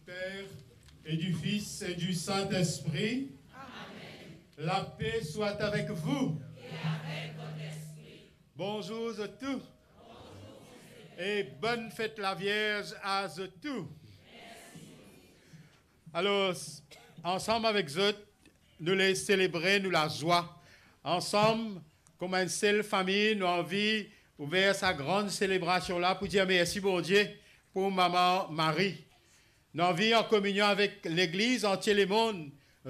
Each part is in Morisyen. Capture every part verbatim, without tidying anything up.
Père, et du Fils, et du Saint-Esprit. Amen. La paix soit avec vous. Et avec votre esprit. Bonzour zot tou. E bonn fet Lavierz a zot tou. Alor, ansam avek zot, nou le selebre nou lazwa. Ansam, kouma enn sel fami, nou anvi ouver sa gran selebrasion la pou dir mersi Bondie pou Mama Mari. Nou anvi, an kominion avek Legliz, antie lemonn,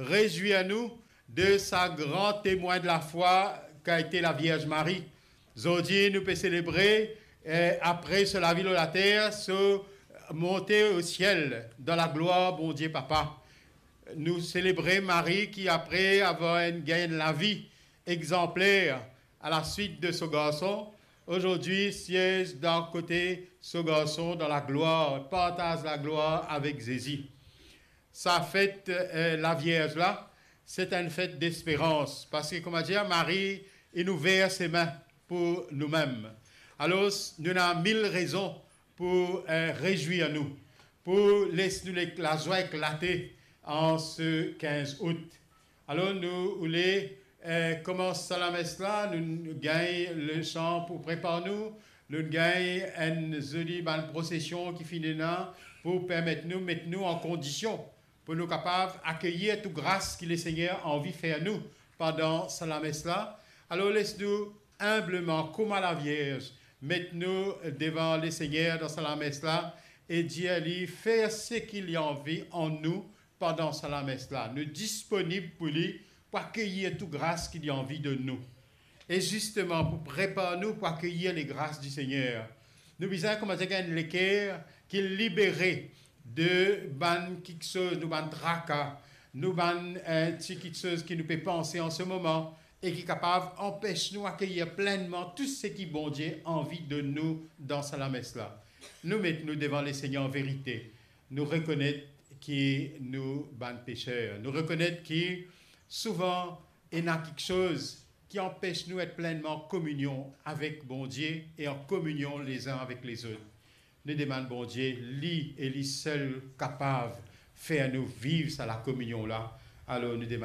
rezwir nou de sa gran temwin de lafwa ki ete Lavierz Mari. Zordi, nou pe selebre, eh, apre so lavi lor later, so monte o siel dan laglwar Bondie Papa. Nou selebre Mari ki, apre avoir enn, gagn enn lavi exanpler a la swit de so Garson, azordi siez dan kote so Garson dan laglwar, partaz laglwar avek Zezi. Sa fet, eh, Lavierz la, se enn fet desperans, parski, kouma dir, Mari inn ouver sime pou noumem. Alor, nou ena mil rezon pou, eh, rezwir nou, pou les nou le-, lazwa eklate an se kinz out. Alor, nou oule, eh, koumans sa lames la, nou gagn letan pou prepar nou, nou gagn enn zoli bann prosesion ki finn ena pou permet nou met nou an kondision pou nou kapav akeyir tou gras ki Lesegner anvi fer nou pandan sa lames la. Alor, les nou inbleman, kouma Lavierz, met nou devan Lesegner dan sa lames la e dir li fer seki li anvi an nou pandan sa lames la. Nou disponib pou li, pou akeyir tou gras ki li anvi donn nou. E zisteman, pou prepar nou pou akeyir legras di Segner, nou bizin koumans gagn enn leker ki libere de bann kiksoz, nou bann traka, nou bann, eh, ti kiksoz ki nou pe panse an se moman e ki kapav anpes nou akeyir plennman tou seki Bondie anvi donn nou dan sa lames la. Nou met nou devan Lesegner an verite. Nou rekonet ki nou bann peser. Nou rekonet ki souvan ena kiksoz ki anpes nou et plennman an kominion avek Bondie e an kominion lezin avek lezot. Nou demann Bondie, li e li sel kapav fer nou viv sa lakominion la. Alor, nou demann